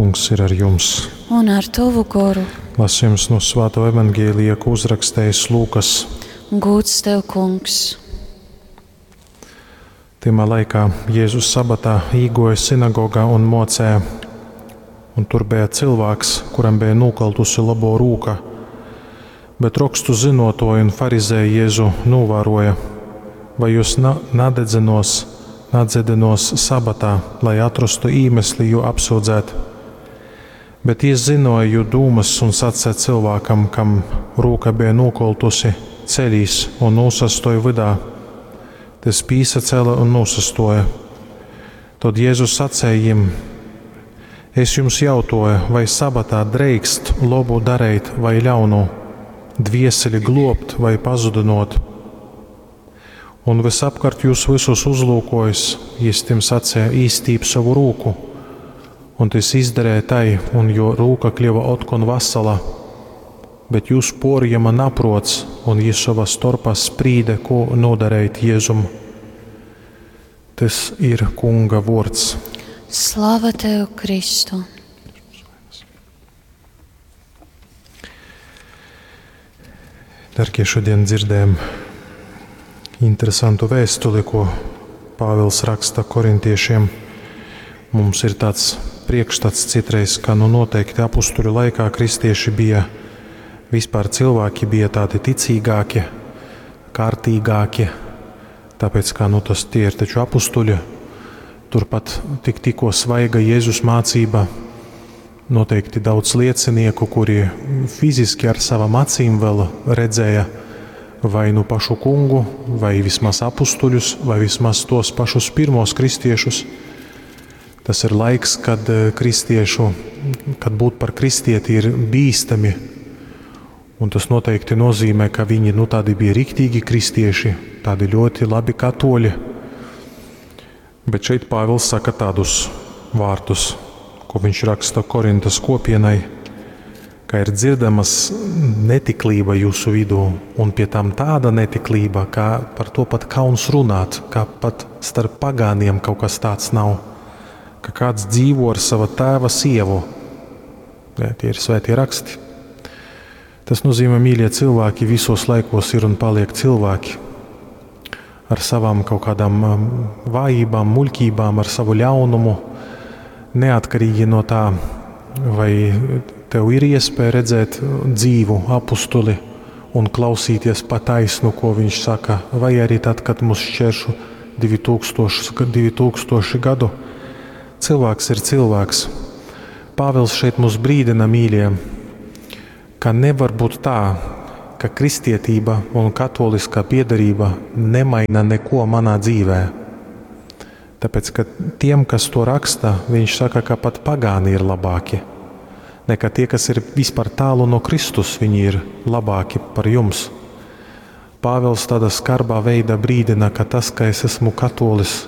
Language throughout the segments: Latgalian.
Kungs ir ar jums. Un ar tovu goru. Lasījums no Svāto evaņģēlija, ko uzrakstījis Lūkas. Gūds tev, Kungs. Tymā laikā Jēzus sabatā īgoja sinagogā un mocēja, un tur bija cilvēks, kuram bija nokaltusi labo rūka. Bet rokstu zinotoji un farizēji Jēzu novēroja, vai jūs na nadedzinos, nadzidinos sabatā, lai atrastu īmesli jū apsūdzēt. Bet jis zinoja jū dūmas un sacīja cilvēkam, kam rūka bija nokoltusi, ceļīs un nūsastoja vydā. Tys pīsacēla un nūsastoja. Tod Jēzus sacēja jim: Es jums jautoju, vai sabatā dreikst lobu dareit vai ļaunu, dvieseli globt vai pazudinot? Un visapkārt jūs visus uzlūkojis, jis tim sacēja: Īstīp savu rūku. Un tys izdarēja tai, un jo rūka kļuva otkon vasala. Bet jūs porjama naprots, un jis sovā storpā sprīde, ko nodareit Jēzum. Tas ir Kunga vords. Slava tev, Kristu! Dargie, šodien dzirdējam interesantu vēstuli, ko Pāvils raksta korintiešiem. Mums ir tāds priekšstats citreiz, ka nu noteikti apustuļu laikā kristieši bija, vispār cilvēki bija tādi ticīgāki, kārtīgāki, tāpēc kā nu tas tie ir taču apustuļi, turpat tik tikko svaiga Jēzus mācība, noteikti daudz liecinieku, kuri fiziski ar savām acīm vēl redzēja vai nu pašu kungu, vai vismaz apustuļus, vai vismaz tos pašus pirmos kristiešus. Tas ir laiks, kad kristiešu, kad būt par kristieti ir bīstami. Un tas noteikti nozīmē, ka viņi nu, tādi bija riktīgi kristieši, tādi ļoti labi katoļi. Bet šeit Pāvils saka tādus vārdus, ko viņš raksta Korintas kopienai, ka ir dzirdamas netiklība jūsu vidū, un pie tam tāda netiklība, ka par to pat kauns runāt, ka pat starp pagāniem kaut kas tāds nav, ka kāds dzīvo ar sava tēva sievu. Jā, tie ir svētie raksti. Tas nozīmē, mīļie cilvēki, visos laikos ir un paliek cilvēki ar savām kaut kādām vājībām, muļķībām, ar savu ļaunumu, neatkarīgi no tā, vai tev ir iespēja redzēt dzīvu apustuli un klausīties pa taisnu, ko viņš saka, vai arī tad, kad mūs šķēršu 2000 gadu. Cilvēks ir cilvēks. Pāvils šeit mūs brīdina, mīļie, ka nevar būt tā, ka kristietība un katoliskā piedarība nemaina neko manā dzīvē. Tāpēc, ka tiem, kas to raksta, viņš saka, ka pat pagāni ir labāki. Nekā tie, kas ir vispār tālu no Kristus, viņi ir labāki par jums. Pāvils tādā skarbā veidā brīdina, ka tas, ka es esmu katolis,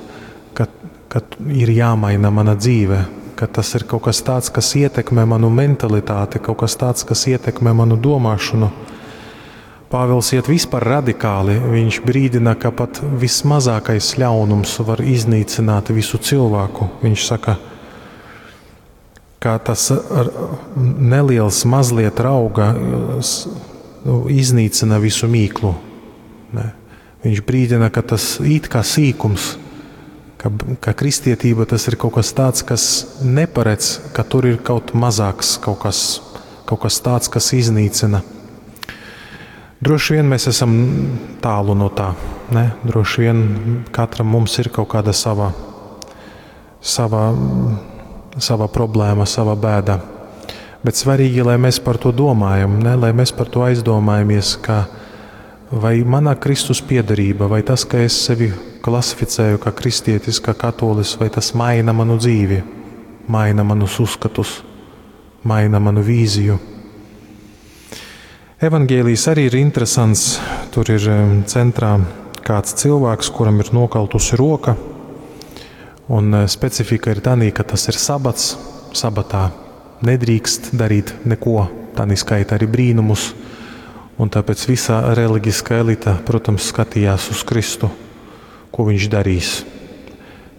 ka, ka ir jāmaina mana dzīve, ka tas ir kaut kas tāds, kas ietekmē manu mentalitāti, kaut kas tāds, kas ietekmē manu domāšanu. Pāvils iet vispār radikāli. Viņš brīdina, ka pat vismazākais ļaunums var iznīcināt visu cilvēku. Viņš saka, ka tas neliels mazliet rauga nu, iznīcina visu mīklu. Ne. Viņš brīdina, ka tas it kā sīkums, ka, ka kristietība tas ir kaut kas tāds, kas neparedz, ka tur ir kaut mazāks kaut kas, kaut kas tāds, kas iznīcina. Droši vien mēs esam tālu no tā. Ne? Droši vien katram mums ir kaut kāda sava, sava, sava problēma, sava bēda. Bet svarīgi, lai mēs par to domājam, ne? Lai mēs par to aizdomājamies, ka vai mana Kristus piederība, vai tas, ka es sevi klasificēju kā kristietis, kā katolis, vai tas maina manu dzīvi, maina manus uzskatus, maina manu vīziju. Evangēlijs arī ir interesants. Tur ir centrā kāds cilvēks, kuram ir nokaltusi roka. Un specifika ir tanī, ka tas ir sabats. Sabatā nedrīkst darīt neko, tanī skaita arī brīnumus. Un tāpēc visa reliģiskā elita, protams, skatījās uz Kristu, ko viņš darīs.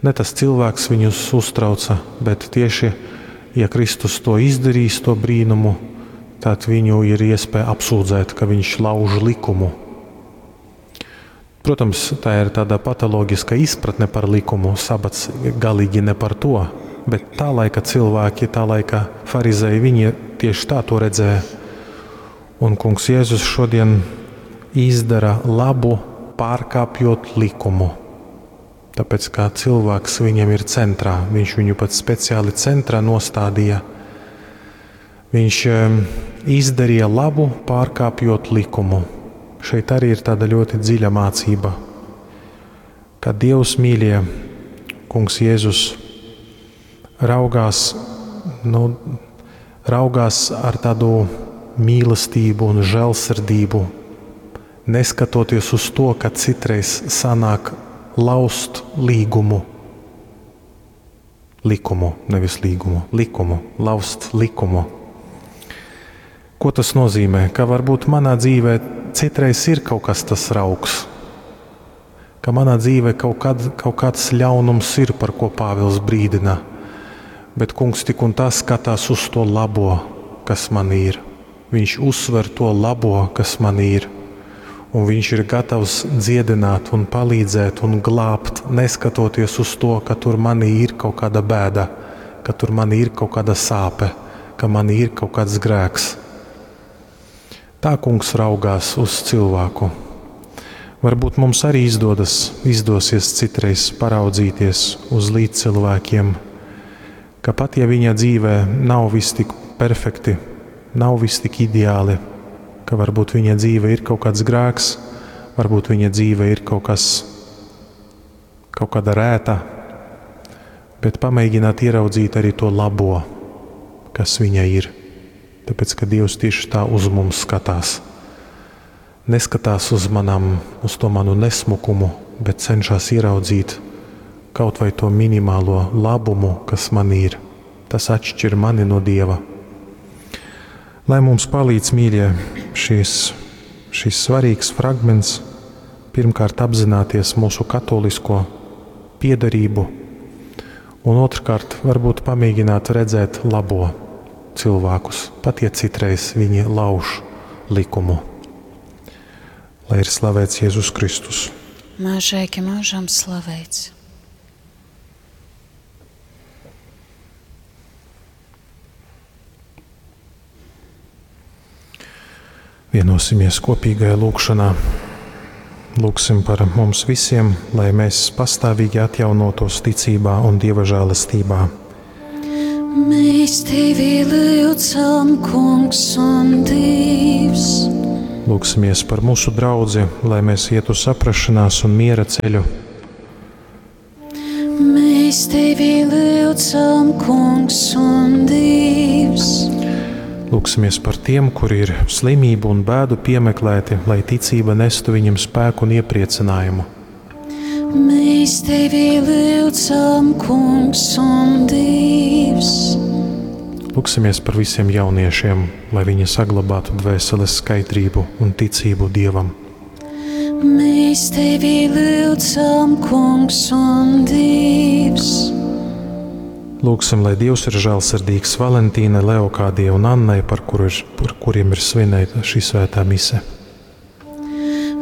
Ne tas cilvēks viņus uztrauca, bet tieši Ja Kristus to izdarīs, to brīnumu, tad viņu ir iespēja apsūdzēt, ka viņš lauž likumu. Protams, tā ir tāda patoloģiska izpratne par likumu. Sabats galīgi ne par to, bet tā laika cilvēki, tā laika farizēji, viņi tieši tā to redzēja. Un Kungs Jēzus šodien izdara labu, pārkāpjot likumu. Tāpēc kā cilvēks viņam ir centrā, viņš viņu pat speciāli centrā nostādīja. Viņš izdarīja labu, pārkāpjot likumu. Šeit arī ir tāda ļoti dziļa mācība, ka Dievs mīļie, Kungs Jēzus raugās, nu, raugās ar tādu mīlestību un žēlsirdību, neskatoties uz to, ka citreiz sanāk lauzt līgumu, likumu, nevis līgumu, likumu, lauzt likumu. Ko tas nozīmē? Ka varbūt manā dzīvē citreiz ir kaut kas tas raugs, ka manā dzīvē kaut kāds ļaunums ir, par ko Pāvils brīdina, bet Kungs tik un tā skatās uz to labo, kas man ir. Viņš uzsver to labo, kas man ir, un viņš ir gatavs dziedināt un palīdzēt un glābt, neskatoties uz to, ka tur manī ir kaut kāda bēda, ka tur manī ir kaut kāda sāpe, ka manī ir kaut kāds grēks. Tā Kungs raugās uz cilvēku. Varbūt mums arī izdosies citreiz paraudzīties uz līdzcilvēkiem, ka pat ja viņa dzīvē nav viss tik perfekti, nav viss tik ideāli, ka varbūt viņa dzīve ir kaut kāds grēks, varbūt viņa dzīve ir kaut kāda rēta, bet pamēģināt ieraudzīt arī to labo, kas viņa ir. Tāpēc, ka Dievs tieši tā uz mums skatās. Neskatās uz to manu nesmukumu, bet cenšas ieraudzīt kaut vai to minimālo labumu, kas man ir. Tas atšķir mani no Dieva. Lai mums palīdz, mīļie, šis svarīgs fragments, pirmkārt apzināties mūsu katolisko piederību, un otrkārt varbūt pamēģināt redzēt labo cilvēkus, pat ja citreiz viņi lauž likumu. Lai ir slavēts Jēzus Kristus. Mūžīgi mūžam slavēts. Vienosimies kopīgajā lūgšanā. Lūgsim par mums visiem, lai mēs pastāvīgi atjaunotos ticībā un Dieva žēlastībā. Mēs tevi lūdzam, Kungs un Dievs. Lūgsimies par mūsu draudzi, lai mēs ietu saprašanās un miera ceļu. Mēs tevi lūdzam, Kungs un Dievs. Lūgsimies par tiem, kuri ir slimību un bēdu piemeklēti, lai ticība nestu viņiem spēku un iepriecinājumu. Mēs tevi lūdzam, Kungs un Dievs. Lūgsimies par visiem jauniešiem, lai viņi saglabātu dvēseles skaidrību un ticību Dievam. Mēs tevi lūdzam, Kungs un Dievs. Lūgsim, lai Dievs ir žēlsirdīgs Valentīnai, Leokādijai un Annai, par kuriem ir svinēta šī svētā mise.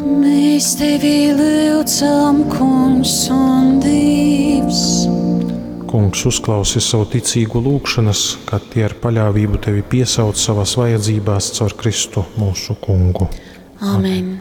Mēs tevi lūdzam, Kungs un Dievs. Kungs, uzklausi savu ticīgu lūgšanas, kad tie ar paļāvību tevi piesauc savās vajadzībās caur Kristu mūsu Kungu. Amen.